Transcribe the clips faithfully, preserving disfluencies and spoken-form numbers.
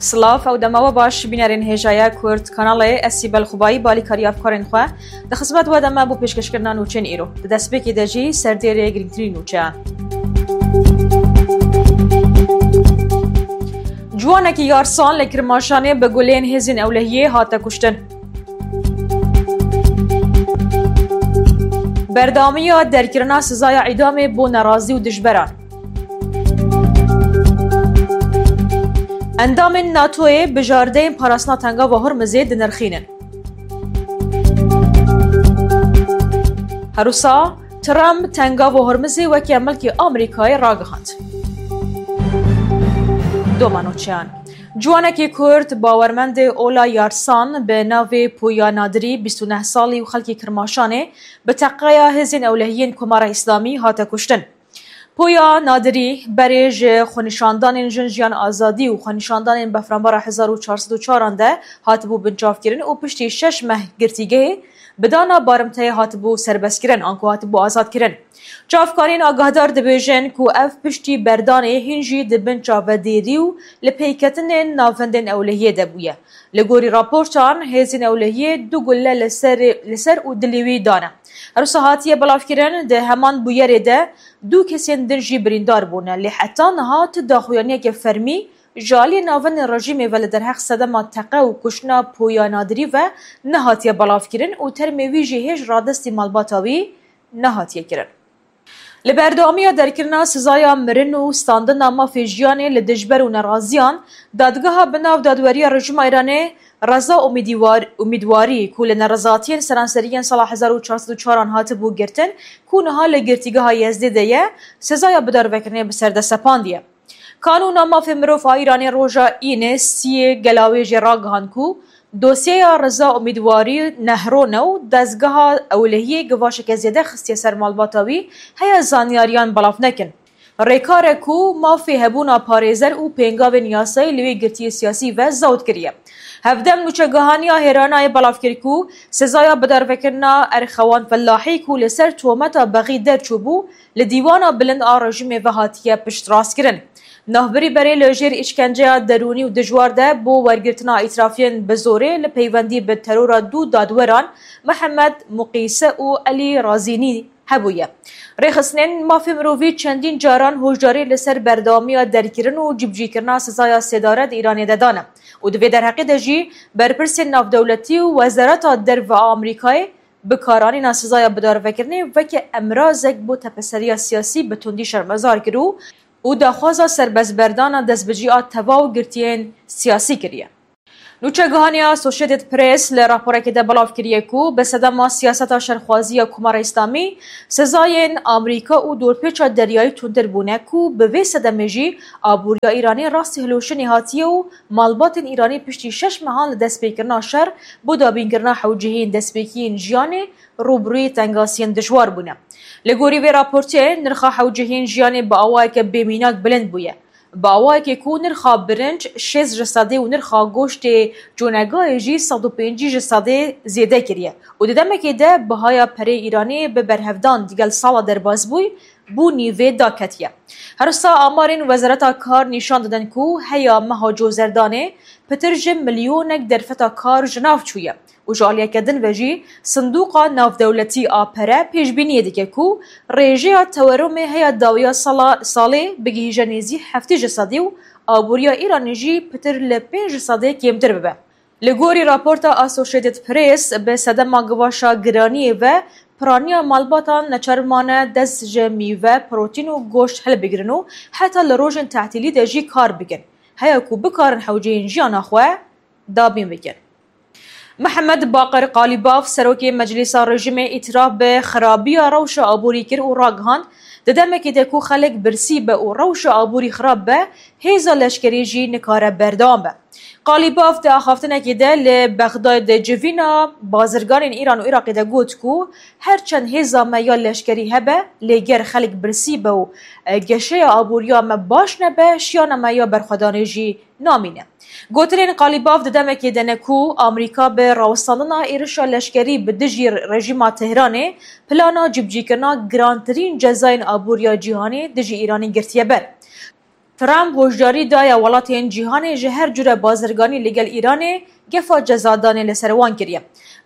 Silav, ew dema we baş, bînerên hêjaya Kurd Kanalê, ez Sîbel Xubayî, balîkarî hevkarên xwe, di xizmet we de me bo pêşkêşkirina nûçeyên îro. Di destpêkê de jî serdêrê girîngtirîn nûçeyan. Ciwanekî Yarsan li Kirmaşanê bi gulên hêzên ewlehiyê hate kuştin. Berdewamiya derkirina sizaya îdamê bo nerazî û dijberan. Endamên NATOyê bijardeyên parastina Tengava Hormizê dinirxînin. Herwisa Trump Tengava Hormizê weke milkê Amerîkayê ragihand. Doma nûçeyan. Ciwanekî Kurd, bawermendê ola Yarsan bi navê Poya Nadirî, bîst û neh salî û xelkê Kirmaşanê, bi teqeya hêzên ewlehiyên Komara Îslamî hate kuştin. Poya Nadirî berê ji xwenîşandanên Jin Jiyan Azadî û xwenîşandanên Befranbara hezar û çar sed û çaran de hatibû binçavkirin û piştî şeş meh girtîgehê bi dana barimteyê hatibû serbestkirin, anku hatibû azadkirin. Çavkanên agahdar dibêjin ku ev piştî berdanê hîn jî di bin çavedêrî û lipeyketinên navendên ewlehiyê de bûye. Li gorî raportan, hêzên ewlehiyê du gulle li ser, li ser û dilê wî dane. Her wisa hatiye belavkirin, di heman bûyerê de du kesên din jî birîndar bûne, lê heta niha tu daxuyaniyeke fermî ji aliyê navendên rejîmê ve li derheq sedema teqe û kuştina Poya Nadirî ve nehatiye belavkirin û termê wî jî hêj radestî malbata wî nehatiye kirin. Li berdewamiya derkirina sizaya mirin û standina mafê jiyanê li dijber û neraziyan, dadgeha bi nav dadweriya rejîma Îranê Reza Umîdîwar-, Umîdwarî, ku li nerizatiyên seranserî yên sala hezar û çar sed û çaran hatibû girtin, ku niha li girtîgeha Yezdê de ye, sizaya bidarvekirinê bi ser de sepandiye. Kanûna Mafê Mirov a Îranê roja Înê siyê Gelawêjê ragihand ku dosyeya Reza Umîdwarî nehron e û dezgeha ewlehiyê givaşeke zêde xistiye ser malbata wî, heya zanyariyan belav nekin. Rêkar e ku mafê hebûna parêzer û pêngavên yasayî li wê girtiyê siyasî ve zewt kiriye. Hevdem nûçegihaniya Hêranayê belav kir ku sezaya bidarvekirina Erxewan Fellahî ku li ser tometa bexî derçûbû, li dîwana bilind a rejîmê ve hatiye piştrastkirin. Navbirî berê li jêr îşkenceya derûnî û dijwar de bo wergirtina îtirafiyên bi zorê li peywendî bi terora du dadweran Mihemed Muqîse û Elî Razînî hebûye. Rêxistinên mafê mirovî çendîn caran hojdarî li ser berdewamiya derkirin û cîbicîkirina sizaya sêdare di Îranê de dane û di vê derheqê de jî berpirsên navdewletî û Wezareta Derve a Amerîkayê bikaranîna sizaya bidarvekirinê weke emrazek bo tepeseriya siyasî bi tundî şermezar kir û û daxwaza serbestberdana destbicî a tevaw girtiyên siyasî kiriye. Nûçegihaniya Associated Press li raporekê de belav kiriye ku bi sedema siyaseta şerxwazî ya Komara Îslamî, sezayên Amerîka û dorpêça deryayî tundtir bûne ku bi vê sedemê jî aboriya Îranê rastî hilweşinê hatiye û malbatên Îranî piştî şeş mehan li destpêkirina şer bo dabînkirina hewcehiyên destpêkiyên jiyanê rûbirûyê tengasiyên dijwar bûne. Li gorî vê raportê, nirxa hewcehiyên jiyanê bi awayeke bêmînak bilind bûye. Bi awayekê ku nirxa birinc şêst ji sedê û nirxa goştê conegayê jî sed û pêncî ji sedê zêde kiriye û di demekê de bihaya perê Îranê bi berhevdan digel sala derbasbûyî bo nîvê daketiye. Her wisa amarên Wezareta Kar nîşan didin ku heya meha Cozerdanê pitir ji milyonek derfeta kar ji nav çûye û ji aliyeke din ve jî Sindoqa Navdewletî a Pere pêşbîniyê dike ku rêjeya tewerumê heya dawiya sala, salê bigihîje nêzî heftê ji sedî û aboriya Îranê jî pitir li pênc ji sedê kêmtir bibe. Li gorî raporta Associated Press, bi sedema givaşa giraniyê ve piraniya malbatan neçar mane dest ji mîve, protîn û goşt hilbigirin û heta li rojên tetîlî de jî kar bikin, heya ku bikarin hewceyên jiyana xwe dabîn bikin. Mihemed Baqir Qalîbaf, serokê Meclîsa Rejîmê, îtiraf bi xirabiya rewşa aborî kir û ragihand, di demekê de ku xelk birsî be û rewşa aborî xirab be, hêza leşkerî jî nikare berdewam be. Qalîbaf di axaftinekê de li Bexdayê di civîna bazirganên Îran û Iraqê de got ku her çend hêza me ya leşkerî hebe, lê ger xelk birsî be û, e, geşeya aboriya me baş nebe, şiyana me ya berxwedanê jî namîne. Gotinên Qalîbaf di demekê de ne ku Amerîka bi rawestandina êrişa leşkerî bi dijî rejîma Tehranê plana cîbicîkirina girantirîn cezayên aboriya cîhanê dijî Îranê girtiye ber. Trump hoşdarî daye welatên cîhanê ji her cure bazirganî li gel Îranê gefa cezadanê li ser wan kiriye.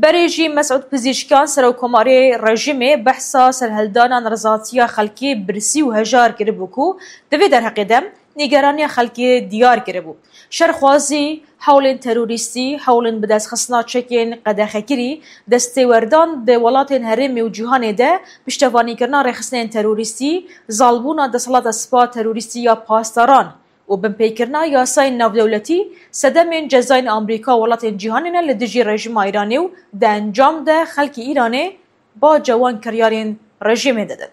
Berê jî Mesûd Pizîşkiyan, serokkomarê rejîmê, behsa serhildana nerizatiya xelkê birsî û hejar kiribû ku di vê derheqê de nîgeraniya xelkê diyar kiribû. Şerxwazî, hewlên terorîstî, hewlên bidestxistina çekên qedexekirî, destêwerdan di welatên herêmê û cîhanê de, piştevanîkirina rêxistinên terorîstî, zalbûna desthilata spa terorîstî ya pasdaran û binpêkirina yasayên navdewletî sedemên cezayên Amerîka û welatên cîhanê ne li dijî rejîma Îranê û di encam de xelkê Îranê baca wan kiryarên rejîmê didin.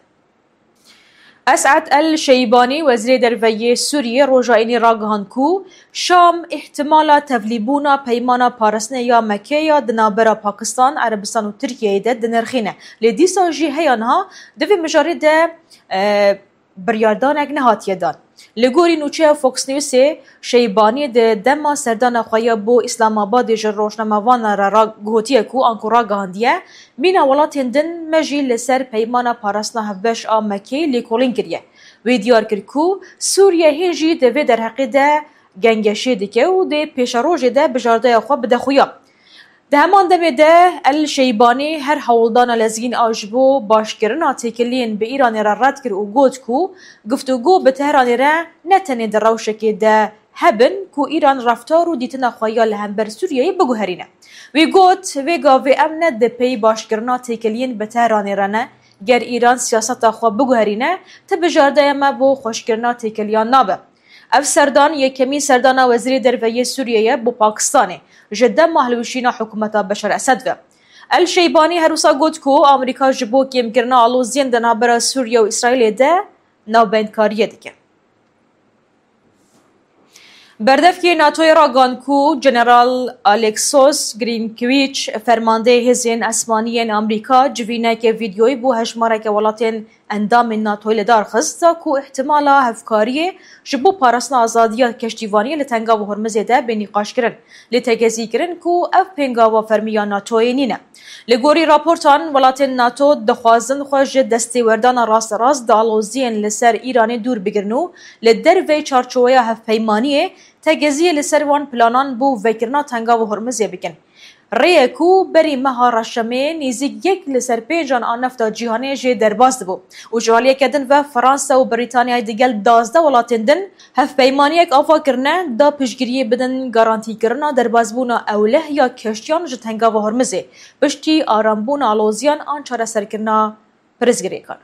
Esad El Şeybanî, Wezîrê Derve yê Sûriyê, roja Înî ragihand ku Şam îhtimala tevlîbûna peymana parastinê ya Mekê ya di navbera Pakistan, Erebistan û Tirkiyeyê de dinirxîne. Lê dîsa jî heya niha di vê mijarê de, e, biryardanek nehatiye dan. Li gorî nûçeya Fox Newsê, Şeybanî di dema serdana xwe ya bo Îslamabadê ji rojnamevanan re ra-, gotiye ku anku ragihandiye, mîna welatên din me jî li ser peymana parastina hevbeş a Mekê lêkolîn kiriye. Wê diyar kir ku Sûriye hîn jî di vê derheqê de gengeşê dike û dê pêşerojê de bijardeya xwe bide xuya. Di heman demê de El Şeybanî her hewldana lezgîn a ji bo başkirina têkiliyên bi Îranê re red kir û got ku guftûgo bi Tehranê re ne tenê di rewşekê de hebin ku Îran reftar û dîtina xwe ya li hember Sûriyeyê biguherîne. Wî got, vê gavê em ne di pey başkirina têkiliyên bi Tehranê re ne, ger Îran siyaseta xwe biguherîne, ti bijardeya me bo xweşkirina têkiliyan nabe. Ev serdan yekemîn serdana Wezîrê Derve yê Sûriyê ye bo Pakistanê ji dema hilweşîna hikûmeta Beşar Esed ve. El Şeybanî her wisa got ku Amerîka ji bo kêmkirina aloziyên di navbera Sûriye û Îsraîlê de navbeyndkariyê dike. Berdevkê NATOyê ragihand ku General Alexos Grinkwich, fermandeyê hêzên esmanî yên Amerîka, civîneke vîdyoyî bo hejmareke welatên endamên NATOyê li dar xist, da ku îhtimala hevkariyê ji bo parastina azadiya keştîvaniyê li Tengava Hormizê de bê nîqaşkirin. Lê tegezî kirin ku ev pêngava fermî ya NATOyê nîne. Li gorî raportan, welatên NATO dixwazin xwe ji destêwerdana rasterast di aloziyên li ser Îranê dûr bigirin û li derveyî çarçoweya hevpeymaniyê tegeziyê li ser wan planan bo vekirina Tengava Hormizê bikin. Rê ye ku berî meha reşemê nêzîk yek li ser pêncan a nefta cîhanê jê derbas dibû û ji aliyeke din ve Fransa û Brîtanyayê digel duwazdeh welatên din hevpeymaniyek ava kirine da piştgiriyê bidin garantîkirina derbasbûna ewleh ya keştiyan ji Tengava Hormizê, piştî arambûna aloziyan an çareserkirina pirsgirêkan.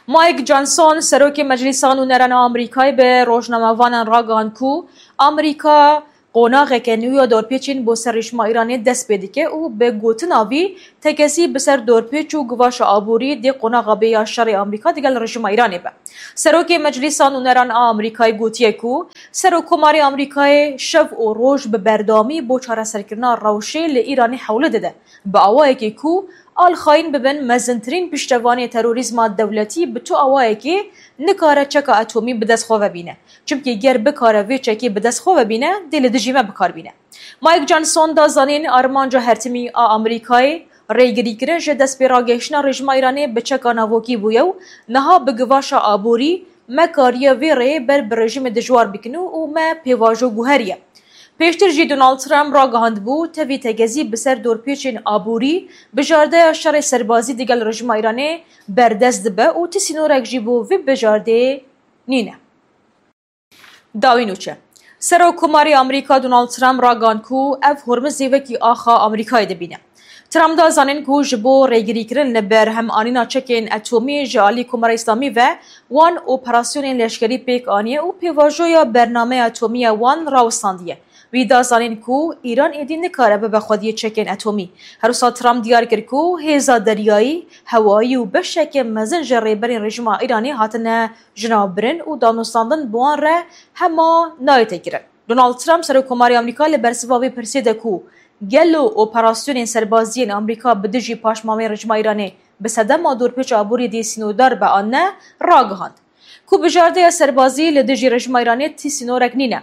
Mike Johnson, serokê Meclîsa Nûneran a Amerîkayê, bi rojnamevanan ragihand ku Amerîka qonaxeke nû ya dorpêçên bo ser rejîma Îranê dest pê dike û bi gotina vî tekesî bi ser dorpêç û givaşa aborî dê qonaxa bê ya şerê Amerîka digel rejîma Îranê be. Serokê Meclîsa Nûneran a Amerîkayê gotiye ku Serokkomarê Amerîkayê şev û roj bi berdewamî bo çareserkirina rewşê li Îranê hewle dide, bi awayekê ku alxayîn bibin mezintirîn piştevanê terorîzma dewletî bi tu awayekê nikare çeka etomî bi dest xwe ve bîne. Çimkî ger bikare vê çekê bi dest xwe ve bîne, dê li dijî me bi kar bîne. Mike Johnson da zanîn, armanca hertimî a Amerîkayê rêgirîkirin ji destpêragehiştina rejîma Îranê bi çeka navokî bûye û niha bi givaşa aborî me kariye vê rêyê ber bi rejîmê dijwar bikin û, û me pêvajo guheriye. Pêştir jî Donald Trump ragihandibû, tevî tegezî bi ser dorpêçên aborî, bijardeya şerê serbazî digel rejîma Îranê berdest dibe û ti sînorek jî bo vê bijardeyê nîne. Dawî nûçe. Serokkomarê Amerîka Donald Trump ragihand ku ev Hormizê wekî axa Amerîkayê dibîne. Trump da zanîn ku ji bo rêgirîkirin li berhemanîna çekên etomî ji alî Komara Îslamî ve wan operasyonên leşkerî pêk aniye û pêvajoya bernameya etomî ya wan rawistandiye. Wî da zanîn ku Îran êdî nikare bibe xwediyê çekên etomî. Her wisa Trump diyar kir ku hêza deryayî, hewayî û beşeke mezin ji rêberên rejîma Îranê hatine jinavbirin û danûstandin bi wan re hema nayê têkirin. Donald Trump, Serokkomarê Amerîka, li bersiva vê pirsê de ku gelo operasyonên serbazî yên Amerîka bi dijî paşmameyên rejîma Îranê bi sedema dorpêça aborî dê sînordar be an ne, ragihand. Bijardeya serbazî li dijî rejîma Îranê tî sînorek nîne.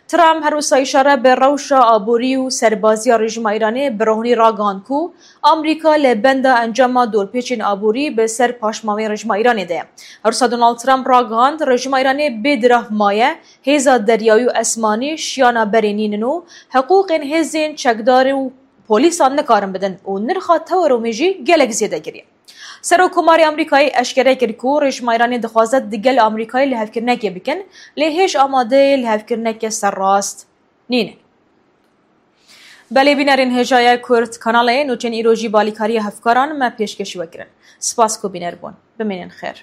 Trump her wisa îşare bi rewşa aborî û serbaziya rejîma Îranê bi rohnî ragihand ku Amerîka li benda encama dorpêçên aborî bi ser paşmamên rejîma Îranê de ye. Her wisa Donald Trump ragihand, rejîma Îranê bê dirav maye, hêza deryayî û esmanî şiyana berê nînin û hiqûqên hêzên çekdar û polîsan nikarin bidin û nirxa teweromê jî gelek zêde kiriye. Serokkomarê Amerîkayê eşkere kir ku rejîma Îranê dixwaze digel Amerîkayê lihevkirinekê bikin, lê hêj amadeyê lihevkirineke serrast nîne. Belê bînerên hêjaya Kurd Kanalê, nûçên îro jî balîkariya hevkaran me pêşkêşî we kirin. Spas ku bîner bûn. Bimînin xêr.